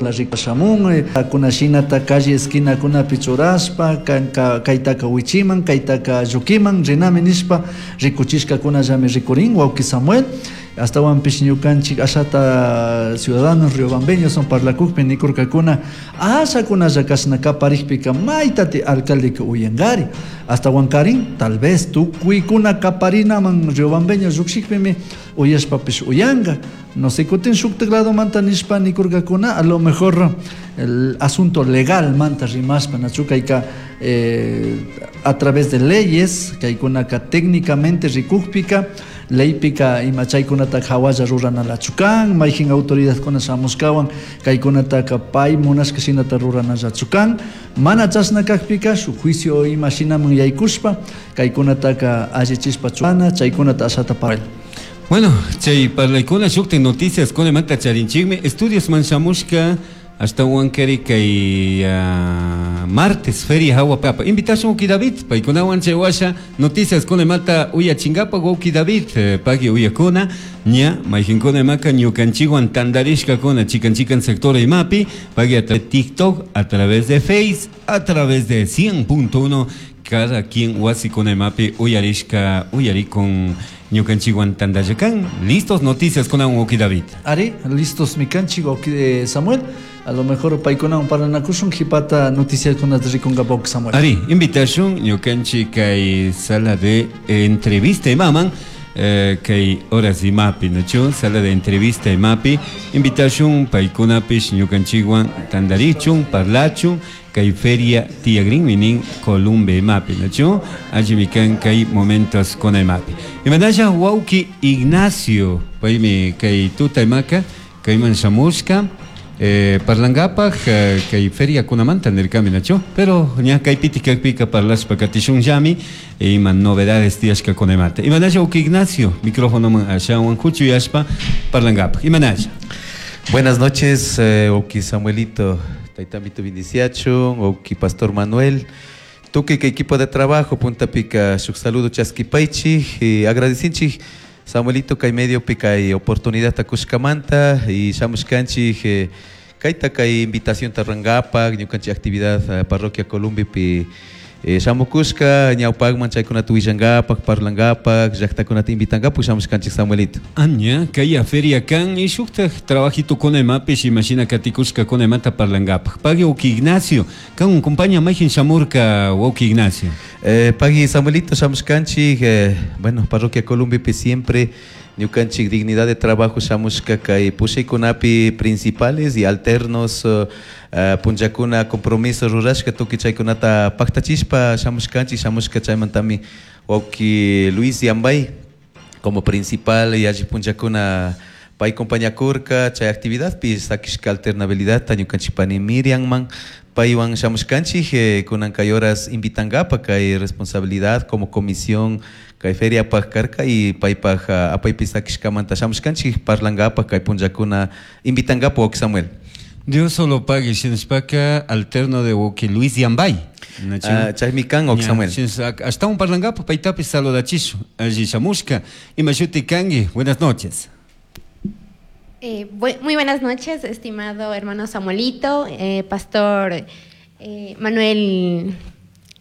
Yurajla rikashamun, kunashinata calle esquinakunapi churashpa, kanka kaytaka wichiman, kaytaka llukiman rinami nishpa rikuchishkakunallami rikurin wawki Samuel. Astawanpish ñukanchik ashata ciudadanos riobambeños son parlakukpi nikurkakuna ashakunalla kashna kaparikpika maytati alcaldeka uyankari. Astawankarin tal vez tukuykuna kaparinaman riobambeño llukshikpimi uyashpapish uyanka. No sé, kutin shuktak ladomanta nishpa nikurkakuna a lo mejor el asunto legal manta rimashpa nachu kayka a través de leyes kaykunaka técnicamente rikukpika leypika ima chaykunataka hawalla ruranalachu kan, mayjin autoridadkuna shamushkawan kaykunataka pay munashka shinata ruranallachu kan, mana chashna kakpika shuk juicio ima shinaman yaykushpa kaykunataka allichishpa churana chaykunata ashata parla. Bueno, chay parlaykuna shuktik noticias kunamanta charinchikmi estudios man shamushka ashtawankari kay martes feria hawa papa. Invitación wawki David, paykunawan chay washa noticias kunamanta uyachingapa wawki David, pagui uyakuna ña mayjinkuna imaka ñukanchikwan tantarishkakuna chikan chikan sector imapi, pagui a través de TikTok, a través de Face, a través de 100.1 cada quien wasikuna imapi uyarishka uyarikun ñukanchikwan tantallakan. Listos noticias kunawan wawki David. Ari, listos mikanchik wawki Samuel. A lo mejor paykunawan parlanakushun qhipata noticiakunata rikunqa wawki Samuel. Ari, invitación ñukanchik kay sala de entrevista imaman, kay horas imapi, ¿no? Sala de entrevista imapi, invitación paykunapish ñukanchikwan tantarichun, parlachun, kay feria tiyagrin minin Columbe imapi, ¿no? Allí kan kay momentos con imapi. Imanasha wawki Ignacio, paymi kay tuta imaka, kayman shamushka, parlangapaj, kay feria kunamanta nirkami, ¿no? Pero ña kay piti kakpika parlashpa katishun llami, ima novedades tiyashka kunamanta. Imanasha wawki Ignacio, micrófono man ashawan huchuyashpa parlangapaj. Imanasha. Buenas noches, wawki Samuelito, taytamito bendiciachun, wawki Pastor Manuel, tukuy kay equipo de trabajo, puntapika shuk saludo chaskipaychik, y agradecinchik Samuelito kay medio kay oportunidad takushkamanta y shamushkanchik, kayta kay invitación tarrangapak, ñukanchik actividad parroquia Columbipi, shamukushka ñawpakman chaykunata willangapak, parlangapak, llaqtakunata invitangapak shamushkanchik Samuelito. Aña, kay feria kan y shuktaj trabajito con imapish imagina katikushka con imata parlangapak. Pagui wawki Ignacio, kan compañía mayjin shamurka wawki Ignacio. Pagui Samuelito shamushkanchik, bueno, parroquia Columbipi siempre ñukanchik dignidad de trabajo shamushka kay pushaykunapi principales y alternos, punllakuna compromiso rurashka tukuy chaykunata paktachishpa shamushkanchik, shamushka chaymantami wawki Luis Yambay como principal y alli punllakuna pay compañakurka chay actividadpi sakishka alternabilidad ñukanchik pani Miriamman paywan shamushkanchik, kunan kay horas invitankapa kay responsabilidad como comisión kay feriapaj karka y paypaj apaypi sakishkamanta shamushkanchik parlankapa kay punllakuna invitankapa wawki Samuel. Dios solo pague, shinashpaka alterno de wawki Luis Yambay. Chaymi kan wawki Samuel. Hasta un parlankapa paytapis saludachishu alli shamushka. Imashuti kanki, buenas noches. Muy buenas noches, estimado hermano Samuelito, pastor Manuel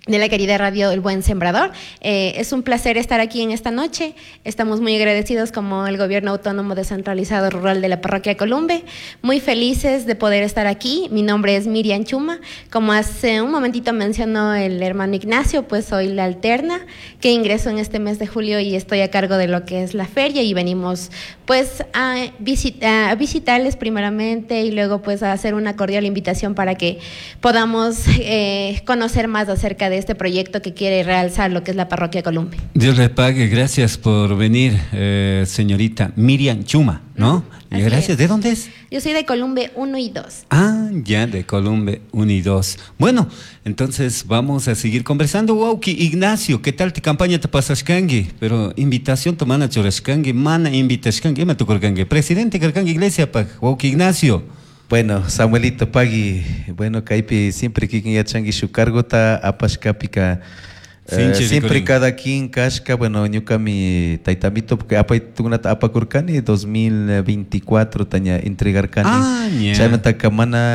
de la querida radio El Buen Sembrador. Es un placer estar aquí en esta noche. Estamos muy agradecidos como el Gobierno Autónomo Descentralizado Rural de la Parroquia Columbe. Muy felices de poder estar aquí. Mi nombre es Miriam Chuma. Como hace un momentito mencionó el hermano Ignacio, pues soy la alterna que ingresó en este mes de julio y estoy a cargo de lo que es la feria y venimos pues a visitarles primeramente y luego pues a hacer una cordial invitación para que podamos conocer más acerca de este proyecto que quiere realzar lo que es la parroquia Columbe. Dios le pague, gracias por venir, señorita Miriam Chuma, ¿no? Así Gracias. es. ¿De dónde es? Yo soy de Columbe 1 y 2. Ah, ya, de Columbe 1 y 2. Bueno, entonces vamos a seguir conversando. Wawki Ignacio, ¿qué tal tu campaña te pasashkangi? Pero invitación tu mana churashkangi, mana invitashkangi, ima tukurkangi. Presidente karkangi iglesia pag, wawki Ignacio. Bueno, Samuelito pagui, bueno, kaypi siempre kikin yachanki shuk cargota apashkapika, Sinchi siempre rikurin. cada quien kashka, bueno, ñukami taytamito, porque apay tukunata apakurkani 2024 taña entregarkani. Ah, ña. Chaymantaka mana